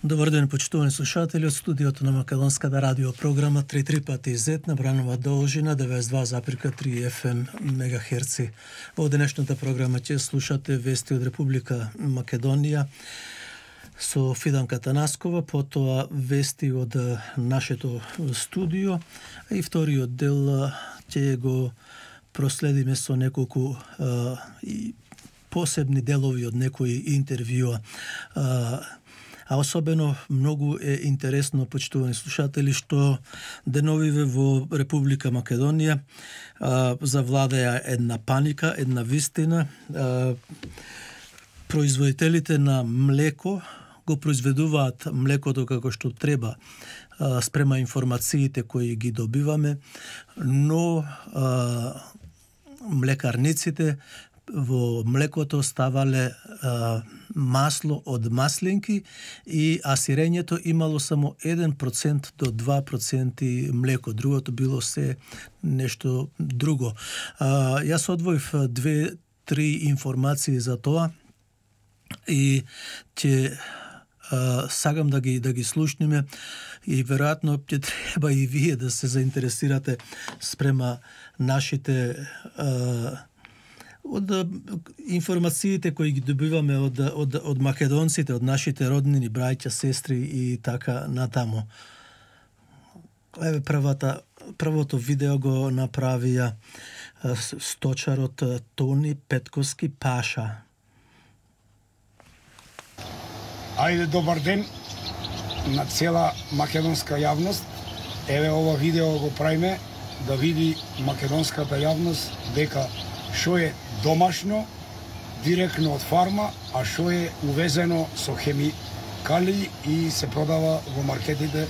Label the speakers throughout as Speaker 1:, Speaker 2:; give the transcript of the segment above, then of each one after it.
Speaker 1: Добар ден, почитувани слушатели, од студиото на Македонската радио програма 3 пати Z на бранова должина 92,3 FM мегахерци. Во денешната програма ќе слушате вести од Република Македонија со Фиданка Танаскова, потоа вести од нашето студио, и вториот дел ќе го проследиме со неколку посебни делови од некои интервјуа. А особено многу е интересно, почитувани слушатели, што деновиве во Република Македонија завладеа една паника, една вистина. Производителите на млеко го произведуваат млекото како што треба спрема информациите кои ги добиваме, но млекарниците во млекото ставале масло од маслинки, а сирењето имало само 1% до 2% млеко. Другото било се нешто друго. Јас одвоив 2-3 информации за тоа и ќе сагам да ги слушнеме, и веројатно ќе треба и вие да се заинтересирате спрема нашите од информациите кои ги добиваме од македонците, од нашите роднини, браќа, сестри и така натаму. Еве првото видео го направија сточарот Тони Петковски Паша.
Speaker 2: Ајде, добар ден на цела македонска јавност. Еве ова видео го правиме да види македонската јавност дека што е домашно, директно од фарма, а што е увезено со хемикали и се продава во маркетите,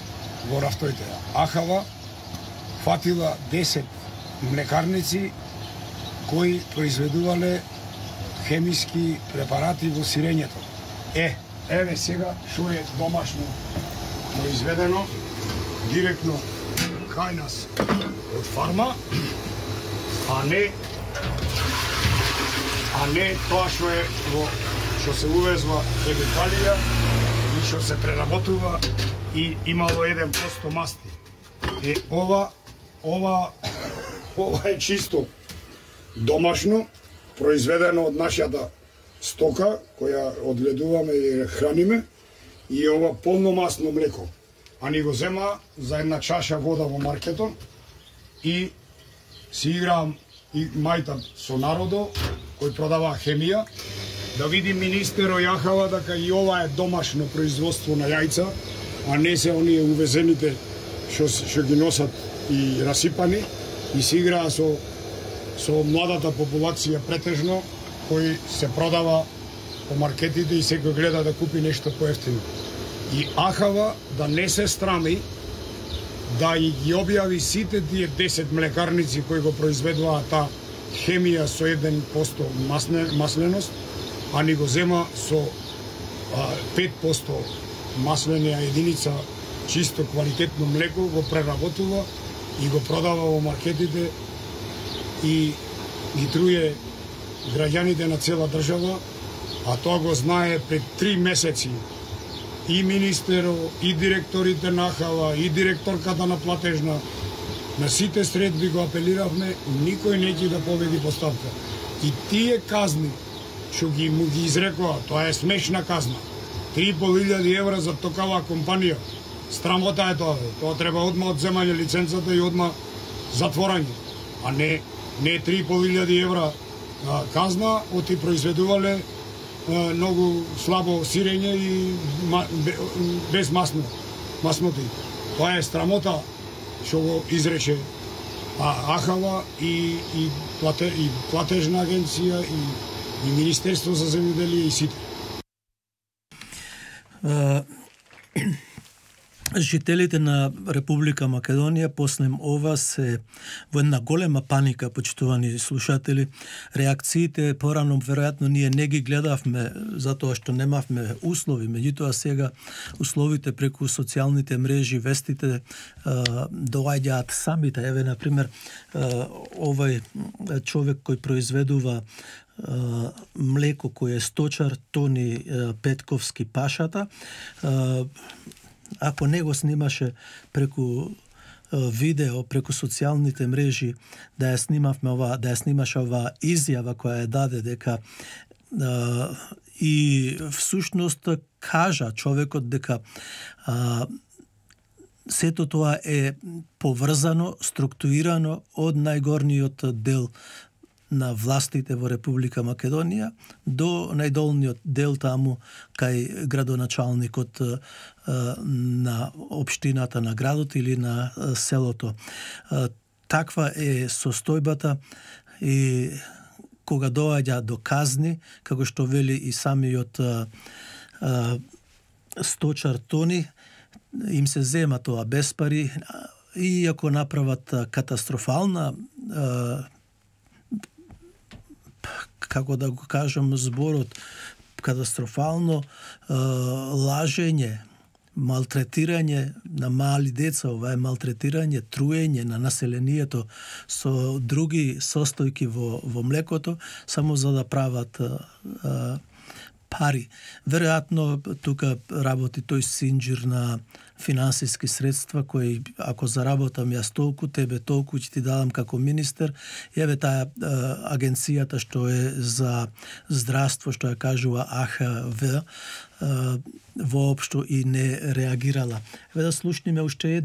Speaker 2: во рафтовите. Ахава фатила 10 млекарници кои произведувале хемиски препарати во сирењето. Еве сега што е домашно произведено директно кај нас од фарма, а не тоа што се увезва хемикалија и што се преработува и имало 1% масти. Ова е чисто домашно, произведено од нашата стока, која одгледуваме и храниме, и ова полномасно млеко. А ни го зема за една чаша вода во маркетот и си играам и мајтам со народо кој продава хемија, да види министерот Јахава дека и ова е домашно производство на јајца, а не се оние увезените што ги носат и расипани, и се играа со младата популација претежно, кој се продава по маркетите и секој гледа да купи нешто поевтино. И Ахава да не се страми да ги објави сите тие 10 млекарници кои го произведуваат таа хемија со 1% масленост, а ни го зема со 5% маслена единица чисто квалитетно млеко, го преработува и го продава во маркетите и ги труе граѓаните на цела држава, а тоа го знае пред 3 месеци и министерот, и директорите на Ахава, и директорката на платежна. На сите средби го апелиравме, никој не ќе да победи поставка. И тие казни што му ги изрекоа, тоа е смешна казна. 3.500 евра за токава компанија. Страмота е тоа. Тоа треба одма одземање лиценцата и одма затворање. А не 3.500 евра казна, оти произведувале многу слабо сирење и без масноти. Тоа е срамота што го изрече Ахава и платежна агенција и Министерство за земјоделие и сите.
Speaker 1: Жителите на Република Македонија после ова се во една голема паника, почитувани слушатели. Реакциите порано веројатно ние не ги гледавме затоа што немавме услови, меѓутоа сега условите преку социјалните мрежи, вестите доаѓаат самите. Еве на пример овај човек кој произведува млеко кој е сточар Тони Петковски Пашата. Ако не го снимаше преку видео, преку социјалните мрежи, да ја снимаше оваа изјава која ја даде дека и всушност кажа човекот дека сето тоа е поврзано, структурирано од најгорниот дел на властите во Република Македонија до најдолниот дел таму кај градоначалникот на општината на градот или на селото. Таква е состојбата и кога доаѓа до казни, како што вели и самиот сточар Тони, им се зема тоа без пари, и ако направат катастрофална, како да го кажам зборот, катастрофално лажење, малтретирање на мали деца, ова е малтретирање, труење на населението со други состојки во млекото, само за да прават пари. Веројатно тука работи тој синџир на финансиски средства кои ако заработам јас толку, тебе толку ќе ти дадам како министер. Еве таа агенцијата што е за здравство, што ја кажува АХВ, воопшто и не реагирала. Еве да слушниме уште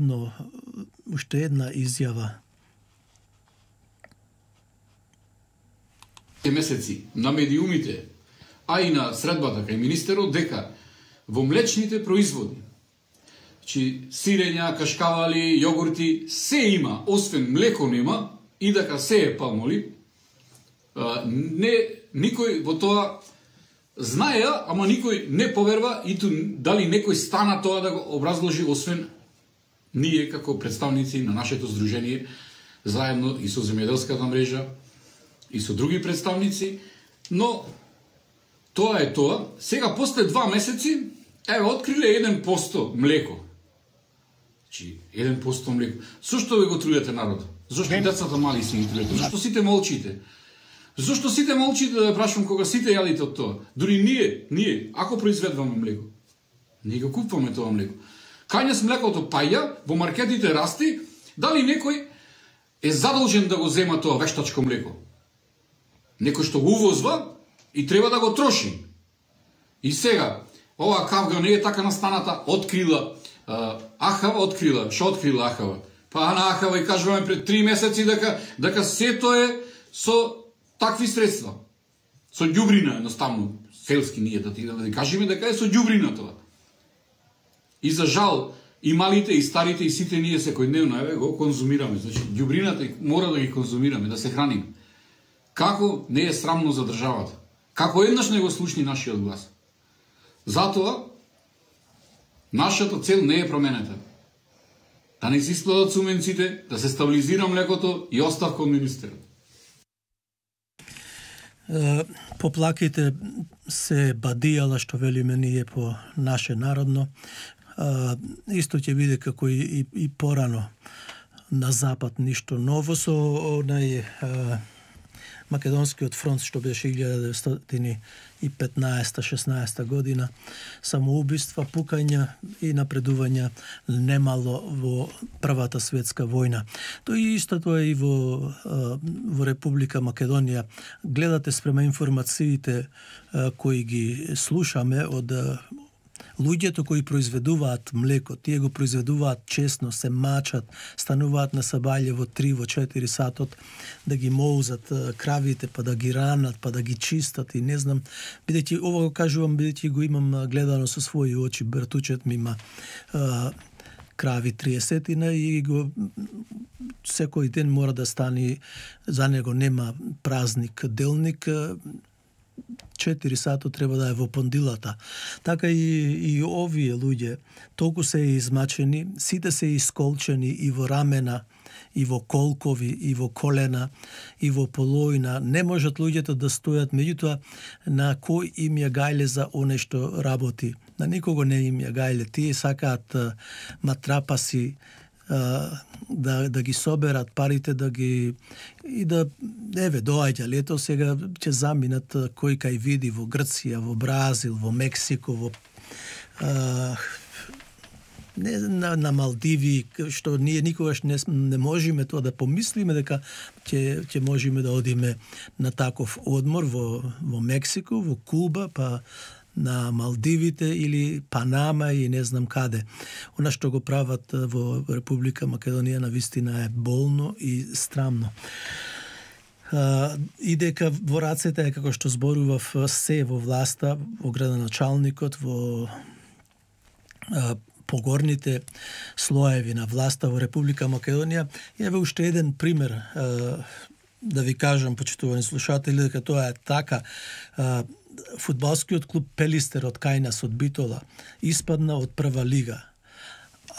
Speaker 1: една изјава.
Speaker 3: Месеци на медиумите, а и на средбата кај министерот, дека во млечните производи, сирења, кашкавали, јогурти, се има, освен млеко нема, и дека се е палмолив. Никој во тоа знаеа, ама никој не поверва, и дали некој стана тоа да го образложи, освен ние како представници на нашето здружение, заедно и со земјоделската мрежа, и со други представници, но тоа е тоа. Сега, после 2 месеци, откриле 1% млеко. 1% млеко. Зошто ви го трујате народ? Зошто децата мали си ги трујате? Зошто сите молчите? Зошто сите молчите, да прашувам, кога сите јадите од тоа? Дури ние, ако произведуваме млеко, ние го купуваме тоа млеко. Кај нас млекото паѓа, во маркетите расти, дали некој е задолжен да го зема тоа вештачко млеко? Некој што го увозва и треба да го троши. И сега, ова кавга не е така настаната, открила Ахава, што открила Ахава? Па на Ахава и кажуваме пред 3 месеци дека сето е со такви средства. Со ѓубрина, едноставно, селски ние да кажеме дека е со ѓубрина тоа. И за жал, и малите, и старите, и сите ние секојдневно го конзумираме. Значи, ѓубрината мора да ги конзумираме, да се храниме. Како не е срамно за државата? Како еднаш не го слушни нашиот глас? Затоа, нашата цел не е променета. Да не се испладат субвенциите, да се стабилизира млекото и оставка од министерот.
Speaker 1: Поплаките се бадијала, што велиме ние по наше народно. Исто ќе биде како и порано на запад, ништо ново со онај Македонскиот фронт што беше 1915-16 година, самоубиства, пукања и напредувања немало во Првата светска војна. Тоа истото е и во Република Македонија. Гледате спрема информациите кои ги слушаме од луѓето кои произведуваат млеко, тие го произведуваат честно, се мачат, стануваат на сабаље во 3-4 сатот, да ги моузат кравите, па да ги ранат, па да ги чистат и не знам. Бидејќи, ова го кажувам, бидејќи го имам гледано со своји очи, братучет ми има крави 30 и го секој ден мора да стане, за него нема празник, делник, 4 сато треба да е во пондилата. Така и овие луѓе толку се измачени, сите се исколчени и во рамена, и во колкови, и во колена, и во полоина. Не можат луѓето да стојат, меѓутоа на кој им ја гајле за оне што работи. На никого не им ја гајле. Тие сакаат матрапаси, да ги соберат парите, да ги и да доаѓа лето, сега ќе заминат кој кај види во Грција, во Бразил, во Мексико, во на Малдиви, што ние никогаш не можеме тоа да помислиме дека ќе можеме да одиме на таков одмор во Мексико, во Куба, па на Малдивите или Панама и не знам каде. Она што го прават во Република Македонија навистина е болно и страмно. И дека во рацете е, како што зборував, се во власта, во градоначалникот, во погорните слоеви на власта во Република Македонија. Еве уште еден пример да ви кажам, почитувани слушатели, дека тоа е така. Фудбалскиот клуб Пелистер од кај нас, од Битола, испадна од прва лига.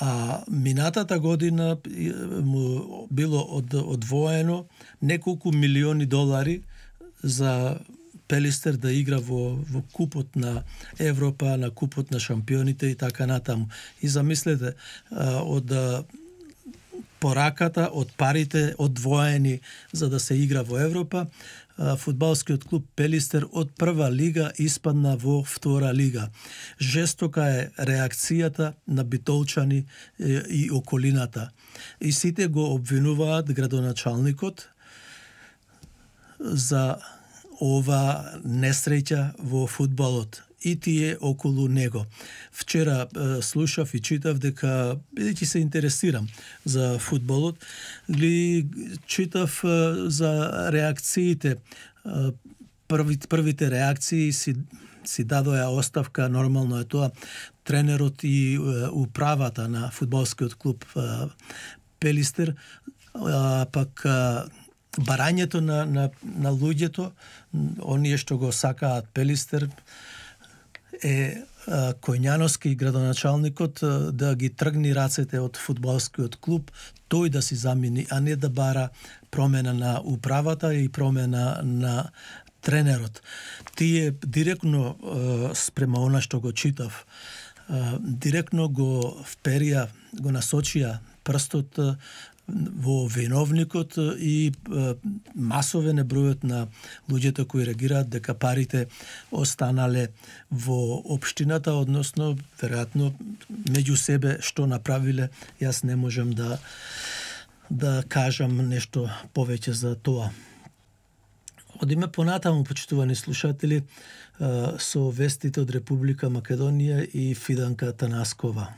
Speaker 1: А минатата година му било одвоено неколку милиони долари за Пелистер да игра во купот на Европа, на купот на шампионите и така натаму. И замислете, од пораката, од парите одвоени за да се игра во Европа, фудбалскиот клуб Пелистер од прва лига испадна во втора лига. Жестока е реакцијата на битолчани и околината. И сите го обвинуваат градоначалникот за ова несреќа во фудбалот и тие околу него. Вчера слушав и читав дека, бидејќи се интересирам за фудбалот, читав за реакциите. Првите реакции си дадоја оставка, нормално е тоа, тренерот и управата на фудбалскиот клуб Пелистер, пак барањето на луѓето, оние што го сакаат Пелистер, е Којњановски, градоначалникот, да ги тргни рацете од фудбалскиот клуб, тој да си замени, а не да бара промена на управата и промена на тренерот. Тие директно спрема она што го читав, директно го вперија, го насочија прстот во виновникот и масовен е бројот на луѓето кои реагираат дека парите останале во општината, односно веројатно меѓу себе што направиле. Јас не можам да кажам нешто повеќе за тоа. Одиме понатаму, почитувани слушатели, со вестите од Република Македонија и Фиданка Танаскова.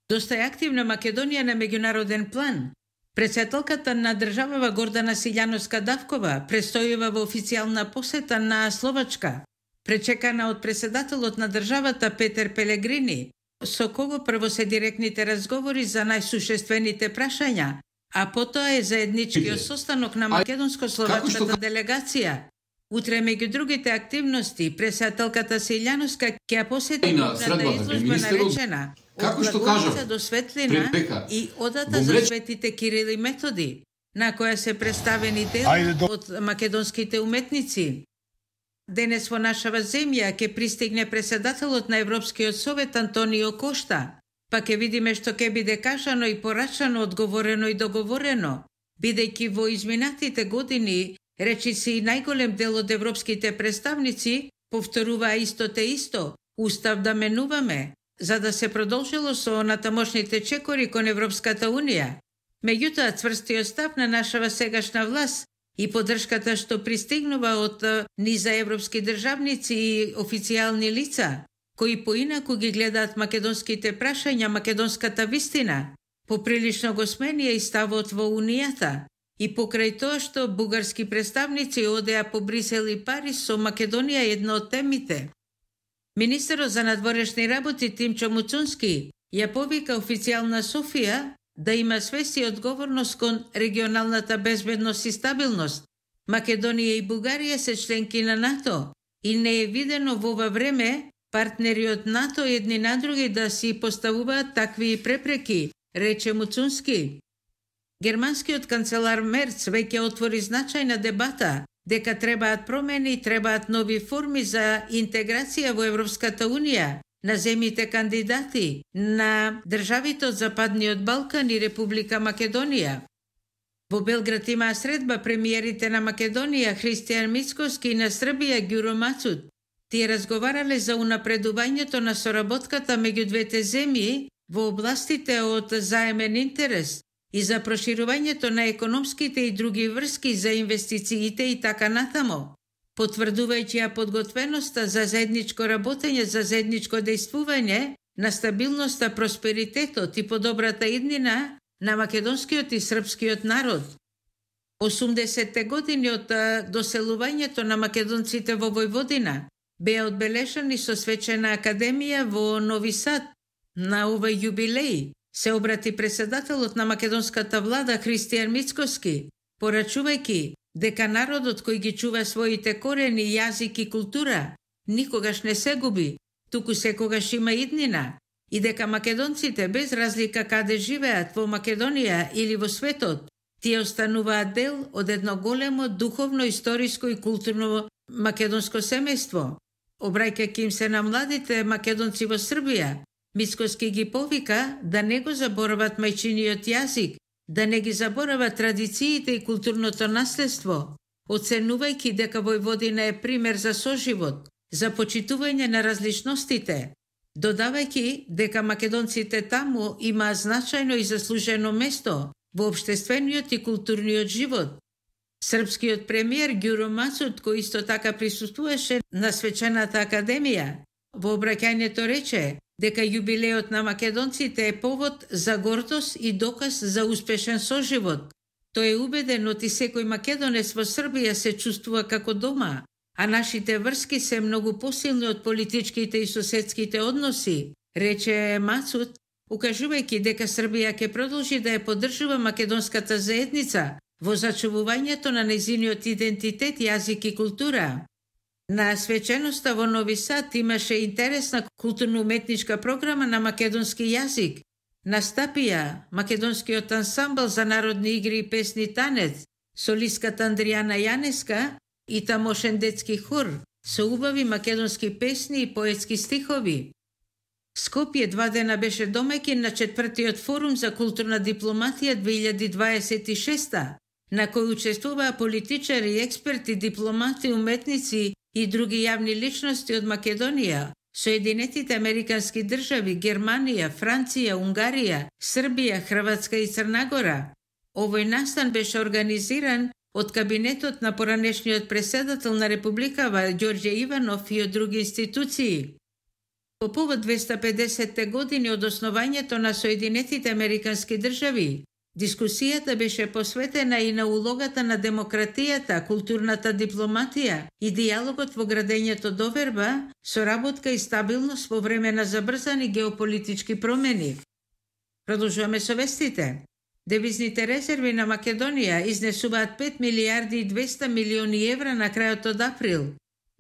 Speaker 4: Доста е активна Македонија на меѓународен план. Председателката на државава Гордана Силјановска-Давкова престојува во официјална посета на Словачка, пречекана од председателот на државата Петер Пелегрини, со кого прво се директните разговори за најсушествените прашања, а потоа е заедничкиот состанок на македонско-словачката делегација. Утре, меѓу другите активности, председателката Силјановска ќе посети главната изложба наречена
Speaker 3: како што кажав,
Speaker 4: до светлина и одата за светите Кирил и Методи, на која се представени дела од македонските уметници. Денес во нашава земја ќе пристигне председателот на Европскиот совет Антонио Кошта, па ќе видиме што ќе биде кажано и порачано, одговорено и договорено, бидејќи во изминатите години речиси и најголем дел од европските представници повторуваа исто те исто, устав да менуваме, за да се продолжило со натамошните чекори кон Европската Унија. Меѓутоа, цврстиот став на нашава сегашна власт и поддршката што пристигнува од низа европски државници и официјални лица, кои поинаку ги гледаат македонските прашања, македонската вистина, поприлично го сменија и ставот во Унијата. И покрај тоа што бугарски представници одеа по Брисел и Париз, со Македонија една од темите. Министерот за надворешни работи Тимчо Муцунски ја повика официјална Софија да има свест и одговорност кон регионалната безбедност и стабилност. Македонија и Бугарија се членки на НАТО и не е видено во ова време партнери од НАТО едни на други да си поставуваат такви препреки, рече Муцунски. Германскиот канцелар Мерц веќе отвори значајна дебата дека требаат промени, требаат нови форми за интеграција во Европската Унија, на земјите кандидати на државите од Западниот Балкан и Република Македонија. Во Белград имаа средба премиерите на Македонија Христијан Мицкоски и на Србија Ѓуро Мацут. Тие разговарале за унапредувањето на соработката меѓу двете земји во областите од заемен интерес и за проширувањето на економските и други врски за инвестициите и така натамо, потврдувајќи ја подготвеноста за заедничко работење, за заедничко дејствување на стабилноста, просперитетот и подобрата иднина на македонскиот и српскиот народ. 80-те години од доселувањето на македонците во Војводина беа одбележани со свечена академија во Нови Сад. На овој јубилеј се обрати председателот на македонската влада Христијан Мицкоски, порачувајќи дека народот кој ги чува своите корени, јазик и култура никогаш не се губи, туку секогаш има иднина, и дека македонците без разлика каде живеат во Македонија или во светот, тие остануваат дел од едно големо духовно, историско и културно македонско семејство. Обраќајќи им се на младите македонци во Србија, Мицкоски ги повика да не го заборават мајчиниот јазик, да не ги заборават традициите и културното наследство, оценувајќи дека Војводина е пример за соживот, за почитување на различностите, додавајќи дека македонците таму имаат значајно и заслужено место во општествениот и културниот живот. Српскиот премиер Ѓуро Мацут, кој исто така присуствуваше на свечената академија, во обраќањето рече дека јубилеот на македонците е повод за гордост и доказ за успешен соживот. Тој е убеден оти секој македонец во Србија се чувствува како дома, а нашите врски се многу посилни од политичките и соседските односи, рече Мацут, укажувајќи дека Србија ќе продолжи да ја поддржува македонската заедница во зачувувањето на нејзиниот идентитет, јазик и култура. На свеченоста во Нови Сад имаше интересна културно-уметничка програма на македонски јазик. Настапија македонскиот ансамбл за народни игри и песни танец, солистката Андријана Јанеска и тамошен детски хор со убави македонски песни и поетски стихови. Скопје 2 дена беше домаќин на 4-тиот форум за културна дипломатија 2026, на кој учествуваа политичари, експерти, дипломати, уметници и други јавни личности од Македонија, Соединетите Американски држави, Германија, Франција, Унгарија, Србија, Хрватска и Црна Гора. Овој настан беше организиран од кабинетот на поранешниот преседател на Републикава Ѓорѓе Иванов и од други институции. По повод 250 години од основањето на Соединетите Американски држави, дискусијата беше посветена и на улогата на демократијата, културната дипломатија и диалогот во градењето доверба, соработка и стабилност во време на забрзани геополитички промени. Продолжуваме со вестите. Девизните резерви на Македонија изнесуваат 5 милиарди и 200 милиони евра на крајот од април.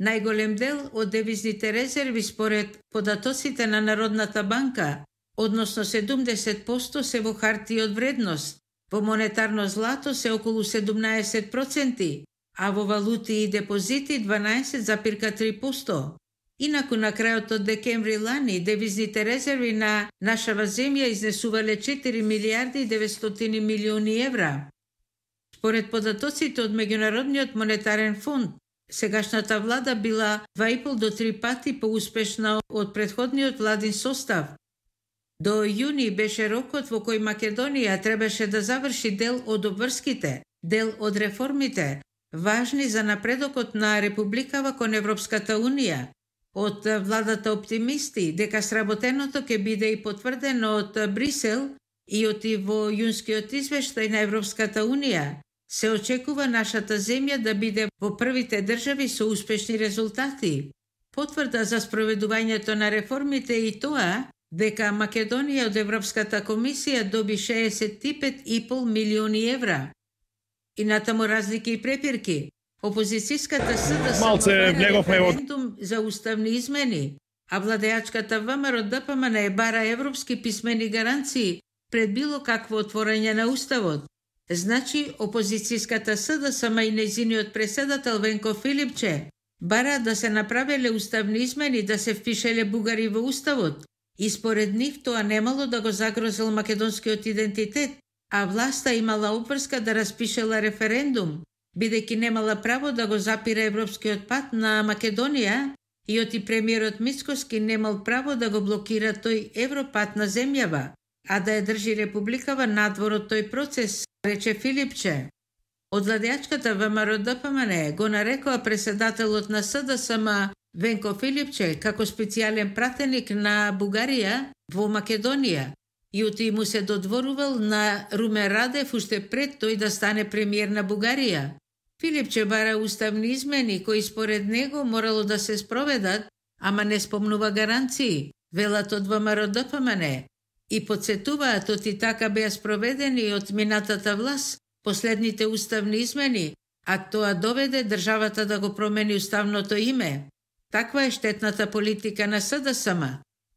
Speaker 4: Најголем дел од девизните резерви според податоците на Народната банка, односно 70% се во хартии од вредност, во монетарно злато се околу 17%, а во валути и депозити 12,3%. Инаку на крајот од декември лани девизните резерви на нашава земја изнесувале 4 милиарди и 900 милиони евра. Според податоците од Меѓународниот монетарен фонд, сегашната влада била 2,5 до 3 пати поуспешна од претходниот владин состав. До јуни беше рокот во кој Македонија требаше да заврши дел од обврските, дел од реформите, важни за напредокот на Републикава кон Европската Унија. Од владата оптимисти дека сработеното ќе биде и потврдено од Брисел и од во јунскиот извештај на Европската Унија, се очекува нашата земја да биде во првите држави со успешни резултати. Потврда за спроведувањето на реформите и тоа дека Македонија од Европската комисија доби 65,5 милиони евра. И натаму разлики и препирки. Опозицијската СДС референдум за уставни измени, а владеачката ВМРО ДПМН бара европски писмени гаранции пред било какво отворање на уставот. Значи, опозицијската СДСМ и нејзиниот преседател Венко Филипче бара да се направеле уставни измени да се впишеле бугари во уставот и според нив тоа немало да го загрозил македонскиот идентитет, а власта имала обврска да распишела референдум, бидејќи немала право да го запира европскиот пат на Македонија и оти премиерот Мицкоски немал право да го блокира тој европат на земјава, а да ја држи републикава надвор од тој процес, рече Филипче. Од владеачката ВМРО ДПМН го нарекоа преседателот на СДСМ Венко Филипче како специјален пратеник на Бугарија во Македонија и оти му се додворувал на Румен Радев уште пред тој да стане премиер на Бугарија. Филипче бара уставни измени кои според него морало да се спроведат, ама не спомнува гаранции, велат од ВМРО ДПМН, и подсетуваат оти така беа спроведени од минатата власт последните уставни измени, а тоа доведе државата да го промени уставното име. Таква е штетната политика на СДСМ.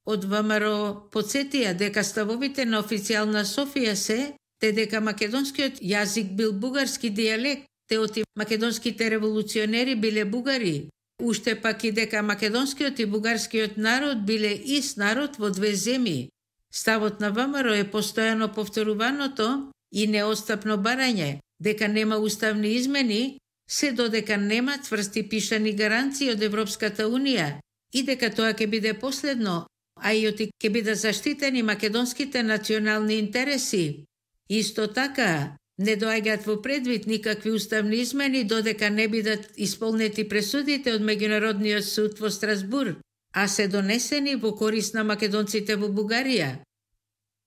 Speaker 4: Од ВМРО подсетија дека ставовите на официјална Софија се, те дека македонскиот јазик бил бугарски дијалект, те оти македонските револуционери биле бугари, уште пак и дека македонскиот и бугарскиот народ биле ист народ во две земји. Ставот на ВМРО е постојано повторуваното и неостапно барање дека нема уставни измени, се додека нема цврсти пишани гаранции од Европската Унија и дека тоа ќе биде последно, а и оти ќе биде заштитени македонските национални интереси. Исто така, не доаѓаат во предвид никакви уставни измени додека не бидат исполнети пресудите од Меѓународниот суд во Страсбур, а се донесени во корист на македонците во Бугарија.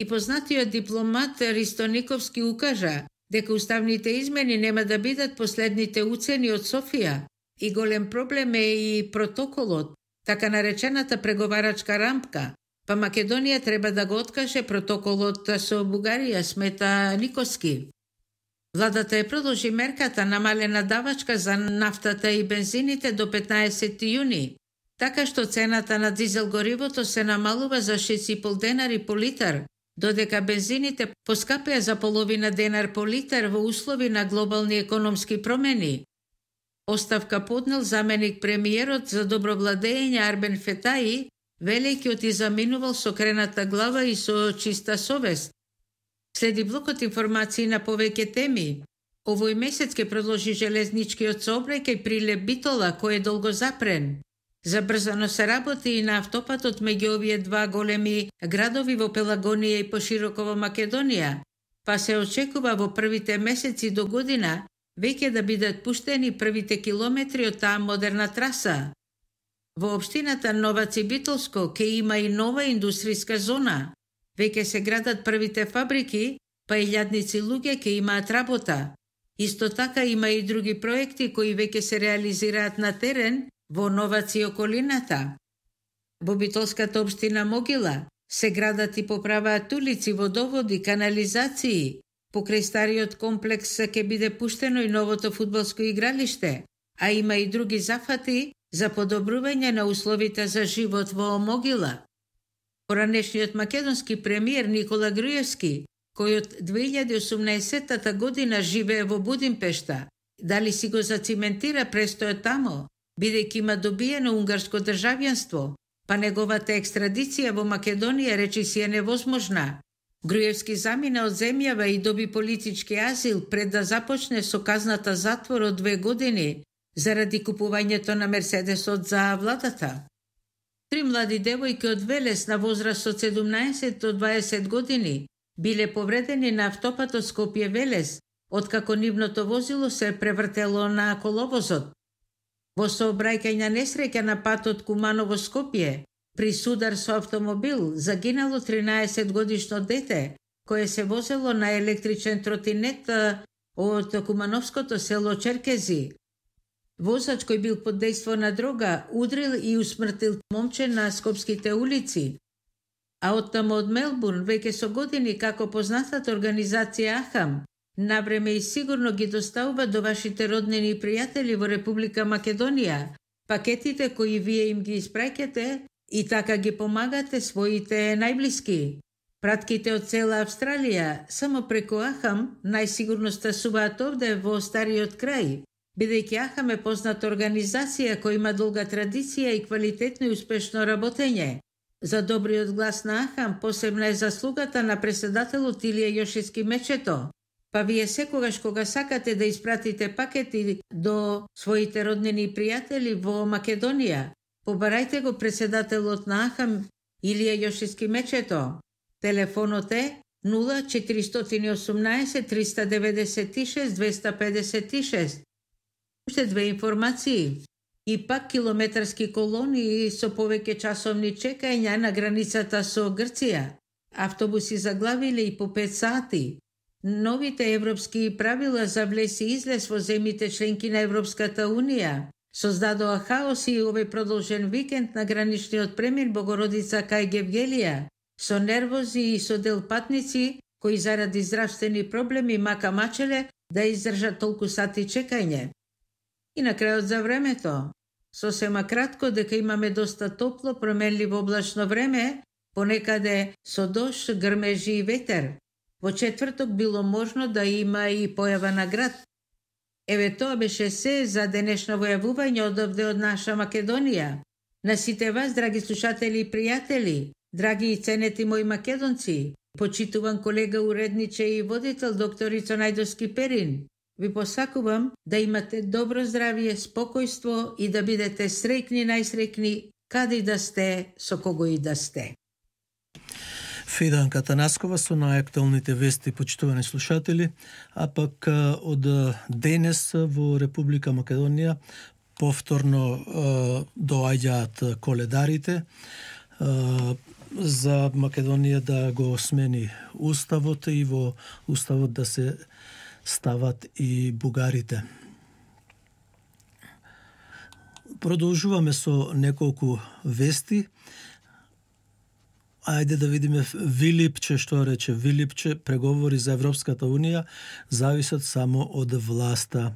Speaker 4: И познатиот дипломат Ристо Никовски укажа дека уставните измени нема да бидат последните уцени од Софија и голем проблем е и протоколот, така наречената преговарачка рамка, па Македонија треба да го откаже протоколот со Бугарија, смета Никовски. Владата е продолжи мерката намалена давачка за нафтата и бензините до 15 јуни, така што цената на дизел горивото се намалува за 6,5 денари по литар, додека бензините поскапеа за половина денар по литар во услови на глобални економски промени. Оставка поднел заменик премиерот за добро владење Арбен Фетаи, велејќи оти заминувал со крената глава и со чиста совест. Следи блокот информации на повеќе теми. Овој месец ќе продолжи железничкиот сообраќај Прилеп Битола, кој е долго запрен. Забрзано се работи и на автопатот меѓу овие два големи градови во Пелагонија и пошироко во Македонија, па се очекува во првите месеци до година веќе да бидат пуштени првите километри од таа модерна траса. Во општината Новаци Битолско ќе има и нова индустријска зона. Веќе се градат првите фабрики, па илјадници луѓе ќе имаат работа. Исто така има и други проекти кои веќе се реализираат на терен во Новаци и околината. Во Битолската општина Могила се градат и поправаат улици, водоводи, канализации. Покрај стариот комплекс ќе биде пуштено и новото фудбалско игралиште, а има и други зафати за подобрување на условите за живот во Могила. Поранешниот македонски премиер Никола Груевски, кој од 2018 година живее во Будимпешта, дали си го зациментира престојот тамо, бидејќи има добиено унгарско државјанство, па неговата екстрадиција во Македонија речи си е невозможна. Груевски замина од земјава и доби политички азил пред да започне со казната затвор од 2 години заради купувањето на Мерседесот за владата. 3 млади девојки од Велес на возраст од 17 до 20 години биле повредени на автопатот Скопје-Велес, откако нивното возило се превртело на коловозот. Во сообраќајна несреќа на патот Куманово-Скопје, при судар со автомобил загинало 13 годишно дете, кое се возело на електричен тротинет од кумановското село Черкези. Возач кој бил под дејство на дрога удрил и усмртил момче на скопските улици. А оттаму од Мелбурн веќе со години како познатата организација Ахам навреме и сигурно ги доставува до вашите роднини и пријатели во Република Македонија пакетите кои вие им ги испраќате и така ги помагате своите најблиски. Пратките од цела Австралија само преку Ахам најсигурно стасуваат овде во стариот крај. Бидејќи АХАМ е позната организација која има долга традиција и квалитетно и успешно работење. За добриот глас на АХАМ посебна е заслугата на председателот Илија Јошиски Мечето. Па вие секогаш кога сакате да испратите пакети до своите роднини и пријатели во Македонија, побарајте го председателот на АХАМ Илија Јошиски Мечето. Телефонот е 0418 396 256. Уште две информации. И пак километарски колони со повеќе часовни чекања на границата со Грција. Автобуси заглавиле и по 5 сати. Новите европски правила за влез и излез во земјите членки на Европската Унија создадоа хаос и овој продолжен викенд на граничниот премир Богородица кај Гевгелија, со нервози и со дел патници кои заради здравствени проблеми мака мачеле да издржат толку сати чекање. И на крајот за времето. Сосема кратко дека имаме доста топло, променливо облачно време, понекаде со дожд, грмежи и ветер. Во четврток било можно да има и појава на град. Еве тоа беше се за денешно војавување одовде од наша Македонија. На сите вас, драги слушатели и пријатели, драги и ценети мои македонци, почитуван колега уредниче и водител доктор Ицо Најдовски Перин, ви посакувам да имате добро здравје, спокојство и да бидете среќни, најсреќни, каде и да сте, со кого и да сте.
Speaker 1: Фиданка Танаскова со најактуелните вести, почитувани слушатели, а пак од денес во Република Македонија повторно доаѓаат коледарите за Македонија да го смени уставот и во уставот да се стават и бугарите. Продолжуваме со неколку вести. Ајде да видиме Вилипче, што рече Вилипче, преговори за Европската Унија зависат само од власта.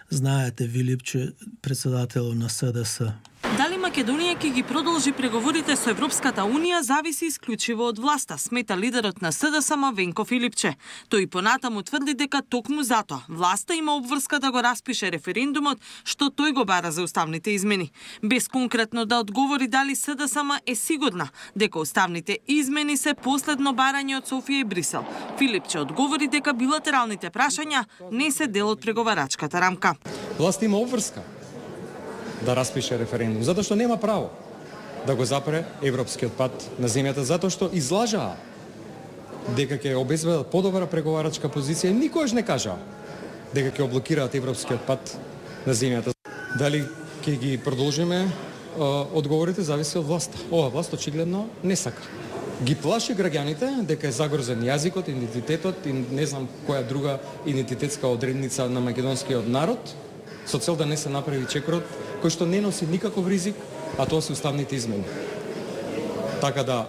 Speaker 1: Знаете, Вилипче, председател на СДС.
Speaker 5: Дали Македонија ќе ги продолжи преговорите со Европската Унија зависи исклучиво од власта, смета лидерот на СДСМ Венко Филипче. Тој понатаму тврди дека токму затоа власта има обврска да го распише референдумот што тој го бара за уставните измени. Без конкретно да одговори дали СДСМ е сигурна дека уставните измени се последно барање од Софија и Брисел. Филипче одговори дека билатералните прашања не се дел од преговарачката рамка.
Speaker 6: Власта има обврска да распише референдум, затоа што нема право да го запре европскиот пат на земјата, затоа што излажаа дека ќе обезбедат подобра преговарачка позиција и никогаш не кажаа дека ќе облокираат европскиот пат на земјата. Дали ќе ги продолжиме, одговорите зависи од власта. Ова власт очигледно не сака. Ги плаши граѓаните дека е загрозен јазикот, идентитетот и не знам која друга идентитетска одредница на македонскиот народ, со цел да не се направи чекорот кој што не носи никаков ризик, а тоа се уставните измени. Така да,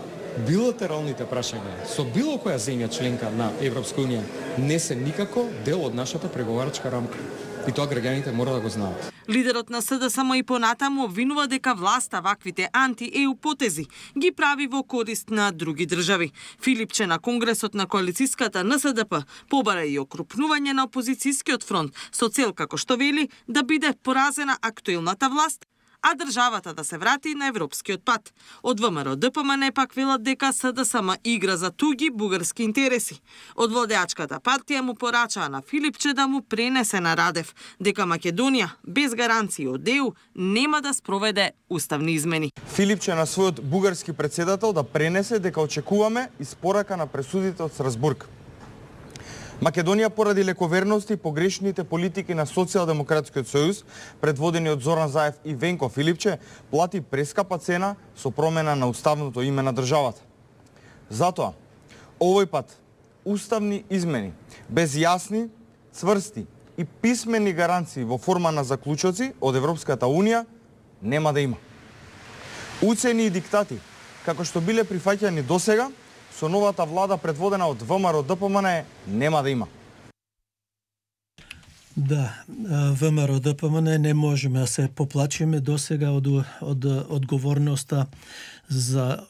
Speaker 6: билатералните прашања со било која земја членка на Европска Унија не се никако дел од нашата преговарачка рамка. И тоа граѓаните мора да го знаат.
Speaker 5: Лидерот на СДСМ и понатаму обвинува дека власта ваквите анти-ЕУ потези ги прави во корист на други држави. Филипче на Конгресот на коалицијската НСДП побара и окрупнување на опозицијскиот фронт со цел, како што вели, да биде поразена актуелната власт, а државата да се врати на европскиот пат. Од ВМРО ДПМН пак велат дека СДСМ игра за туги бугарски интереси. Од владеачката партија му порачаа на Филипче да му пренесе на Радев дека Македонија без гаранции од ЕУ нема да спроведе уставни измени.
Speaker 7: Филипче на својот бугарски председател да пренесе дека очекуваме испорака на пресудите од Страсбург. Македонија поради лековерност и погрешните политики на Социјалдемократскиот сојуз, предводени од Зоран Заев и Венко Филипче, плати прескапа цена со промена на уставното име на државата. Затоа, овој пат, уставни измени, без јасни, цврсти и писмени гаранции во форма на заклучоци од Европската Унија, нема да има. Уцени и диктати, како што биле прифаќани досега, со новата влада предводена од ВМРО ДПМН нема да има.
Speaker 1: Да, ВМРО ДПМН не можеме да се поплачиме досега од одговорноста за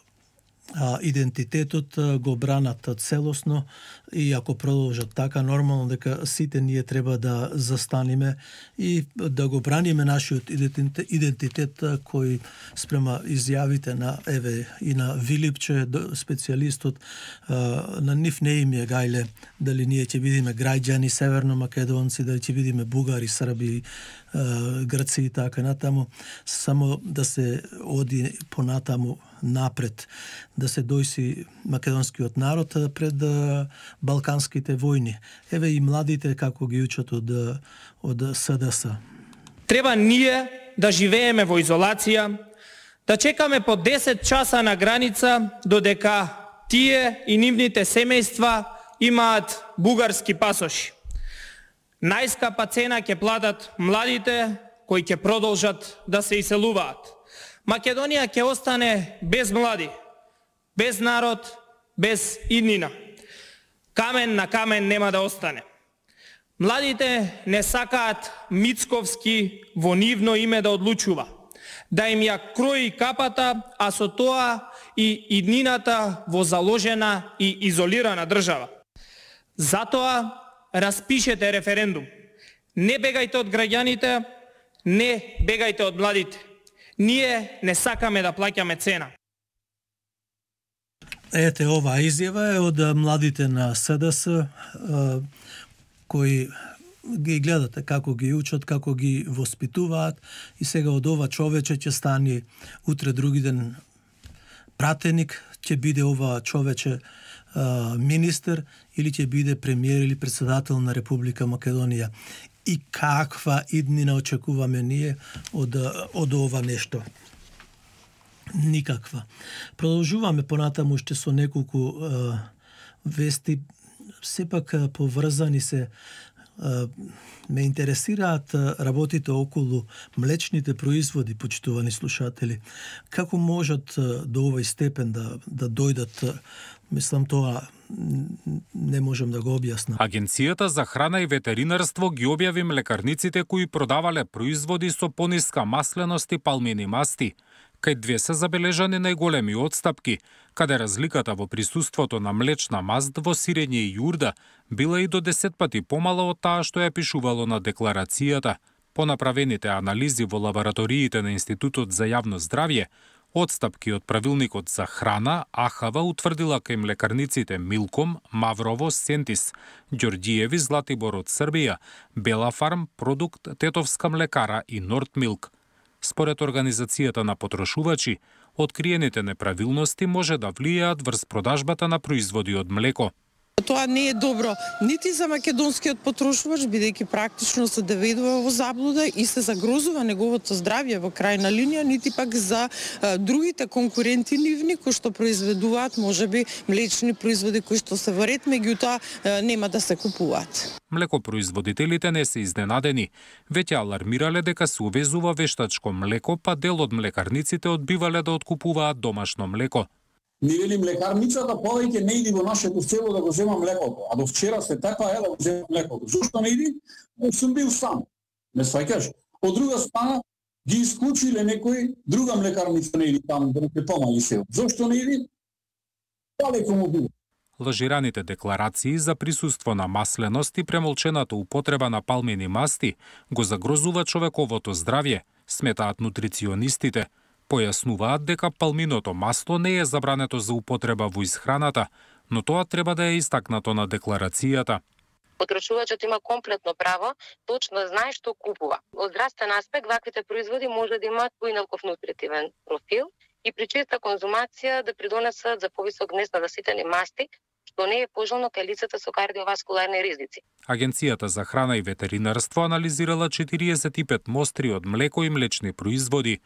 Speaker 1: идентитетот го бранат целосно и ако продолжат така, нормално дека сите ние треба да застаниме и да го браниме нашиот идентитет кој спрема изјавите на Еве и на Вилипче, специјалистот, на нив не им е гајле дали ние ќе бидеме граѓани северно-македонци, дали ќе бидеме бугари, срби, грци и така натаму, само да се оди понатаму напред, да се дојси македонскиот народ пред балканските војни. Еве и младите како ги учат од СДС.
Speaker 8: Треба ние да живееме во изолација, да чекаме по 10 часа на граница додека тие и нивните семејства имаат бугарски пасоши. Најскапа цена ќе платат младите кои ќе продолжат да се иселуваат. Македонија ќе остане без млади, без народ, без иднина. Камен на камен нема да остане. Младите не сакаат Мицковски во нивно име да одлучува, да им ја крои капата, а со тоа и иднината во заложена и изолирана држава. Затоа распишете референдум. Не бегајте од граѓаните, не бегајте од младите. Ние не сакаме да плаќаме цена.
Speaker 1: Ете, оваа изјава е од младите на СДС, кои ги гледате како ги учат, како ги воспитуваат и сега од ова човече ќе стане утре други ден пратеник, ќе биде ова човече министер или ќе биде премиер или председател на Република Македонија. И каква иднина очекуваме ние од ова нешто? Никаква. Продолжуваме понатаму уште со неколку вести, сепак поврзани се. Ме интересираат работите околу млечните производи, почитувани слушатели. Како можат до овој степен да дојдат? Мислам, тоа не можем да го објаснам.
Speaker 9: Агенцијата за храна и ветеринарство ги објави млекарниците кои продавале производи со пониска масленост и палмини масти. Кај две се забележани најголеми отстапки, каде разликата во присуството на млечна маст во сирење и јурда била и до 10 пати помала од таа што ја пишувало на декларацијата. По направените анализи во лабораториите на Институтот за јавно здравје, отстапки од правилникот за храна, АХВ утврдила кај млекарниците Милком, Маврово, Сентис, Ѓорѓиеви, Златибор од Србија, Белафарм, Продукт, Тетовска млекара и Нордмилк. Според Организацијата на потрошувачи, откриените неправилности може да влијаат врз продажбата на производи од млеко.
Speaker 10: Тоа не е добро нити за македонскиот потрошувач, бидејќи практично се доведува во заблуда и се загрозува неговото здравје во крајна линија, нити пак за другите конкуренти нивни кои што произведуваат можеби млечни производи кои што се во ред, меѓутоа нема да се купуваат.
Speaker 9: Млекопроизводителите не се изненадени, веќе алармирале дека се увезува вештачко млеко, па дел од млекарниците одбивале да откупуваат домашно млеко.
Speaker 11: Ни вели млекарницата повеќе не иди во нашето село да го зема млекото, а до вчера се така да го зема млекото. Зошто не иди? Сум бил сам. Не сваќаш. Од друга страна ги исклучиле некој друга млекарница не иди таму да не помали село. Зошто не иди? Далеко му било.
Speaker 9: Лажираните декларации за присуство на масленост и премолчената употреба на палмени масти го загрозува човековото здравје, сметаат нутриционистите. Појаснуваат дека палминото масло не е забрането за употреба во исхраната, но тоа треба да е истакнато на декларацијата.
Speaker 12: Потрошувачот има комплетно право, точно знае што купува. Од здравствен аспект, ваквите производи може да имаат поиналков нутритивен профил и при честа конзумација да придонесат за повисок внес на заситени масти, што не е пожелно кај лицата со кардиоваскуларни ризици.
Speaker 9: Агенцијата за храна и ветеринарство анализирала 45 мостри од млеко и млечни производи.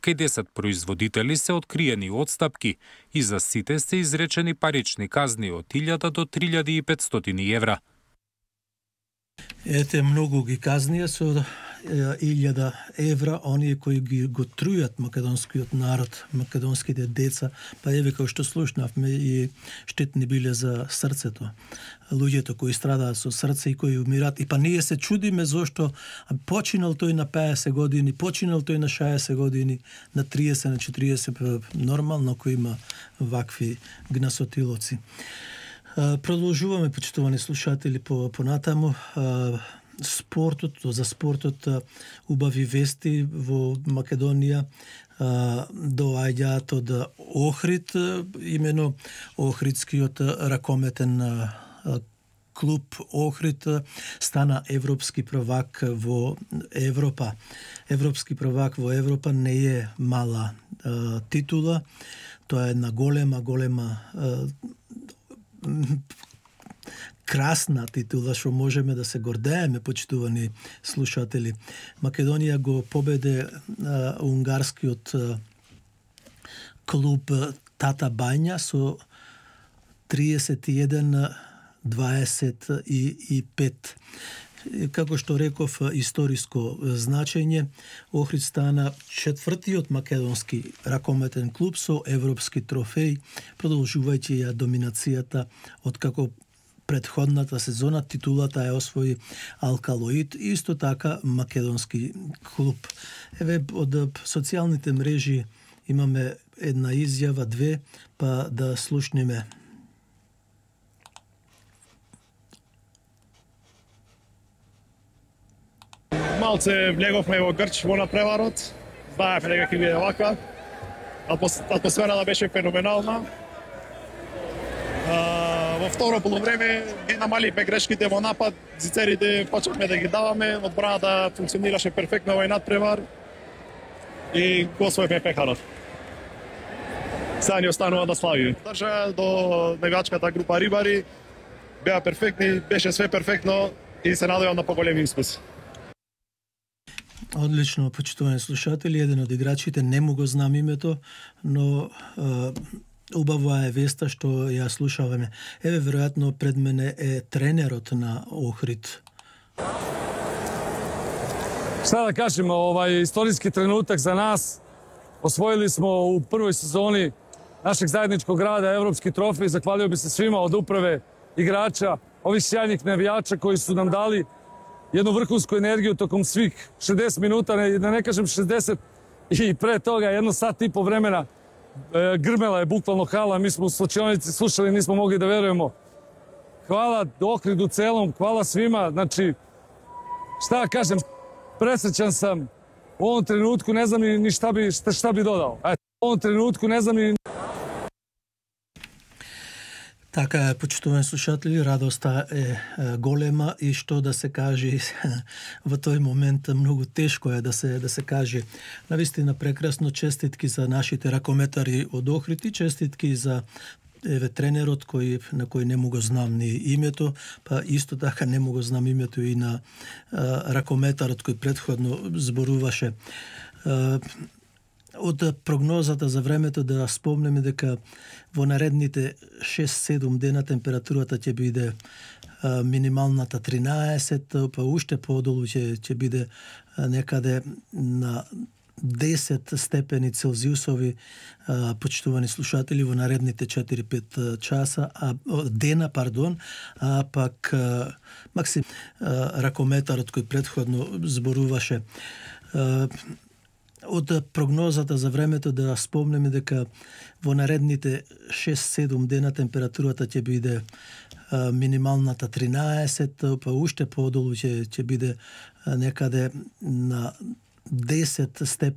Speaker 9: Кај 10 производители се откриени отстапки и за сите се изречени парични казни од 1000 до 3500 евра.
Speaker 1: Ете, многу ги казнија со 100.000 евра, оние кои го трујат македонскиот народ, македонските деца, па еве како што слушнавме и штетни биле за срцето. Луѓето кои страдаат со срце и кои умират. И па ние се чудиме зошто починал тој на 50 години, починал тој на 60 години, на 30, на 40, нормално кој има вакви гнасотилоци. Продолжуваме, почитувани слушатели, понатаму. За спортот убави вести во Македонија доаѓаат од Охрид, имено Охридскиот ракометен клуб Охрид стана европски prvак во Европа. Европски prvак во Европа не е мала титула, тоа е една голема красна титула што можеме да се гордееме, почитувани слушатели. Македонија го победе унгарскиот клуб Тата Бања со 31-25. Како што реков, историско значење, Охрид стана четвртиот македонски ракометен клуб со европски трофеј, продолжувајќи ја доминацијата од како предходната сезона. Титулата ја освои Алкалоид, исто така македонски клуб. Еве, од социјалните мрежи имаме една изјава, две, па да слушнеме.
Speaker 13: Малце влеговме во грч во напреварот. Знаевме дека ќе биде ваква. Атмосферата беше феноменална. Во второ полувреме ги намалихме грешките во напад, зицерите почнавме да ги даваме, одбраната функционираше перфектно овој надпревар и го освоивме пехарот. Сега ни останува да славиме. Држа до навијачката група рибари, беа перфектни, беше све перфектно и се надевам на поголеми успеси.
Speaker 1: Одлично, почитувани слушатели, еден од играчите, не му го знам името, но убава е веста што ја слушаваме. Еве, веројатно пред мене е тренерот на Охрид.
Speaker 14: Šta da kažemo, istorijski trenutak za nas. Osvojili smo u prvoj sezoni našeg zajedničkog rada evropski trofej. Zahvalio bi se svima od uprave, igrača, ovih sjajnih navijača koji su nam dali jednu vrhunsku energiju tokom svih 60 minuta, da ne kažem 60, i pre toga 1 sat i po vremena grmela je bukvalno hala, mi smo u slačionici slušali, nismo mogli da verujemo. Hvala Ohridu celom, hvala svima, znači, šta da kažem, presrećan sam, u ovom trenutku ne znam ni šta bi dodao. U ovom trenutku ne znam ni...
Speaker 1: Така е, почитувани слушатели, радоста е голема и што да се каже во тој момент многу тешко е да се каже. Навистина прекрасно, честитки за нашите ракометари од Охрид и честитки за тренерот на кој не му го знам ни името, па исто така не му го знам името и на ракометарот кој претходно зборуваше. Од прогнозата за времето да спомнеме дека во наредните 6-7 дена температурата ќе биде минималната 13, па уште подолу ќе биде некаде на 10 степени Целзиусови, почитувани слушатели, во наредните 4-5 часа, дена, а пак Максим ракометарот кој претходно зборуваше. Од прогнозата за времето да спомнеме дека во наредните 6-7 дена температурата ќе биде минималната 13, па уште подолу ќе биде некаде на 10 степени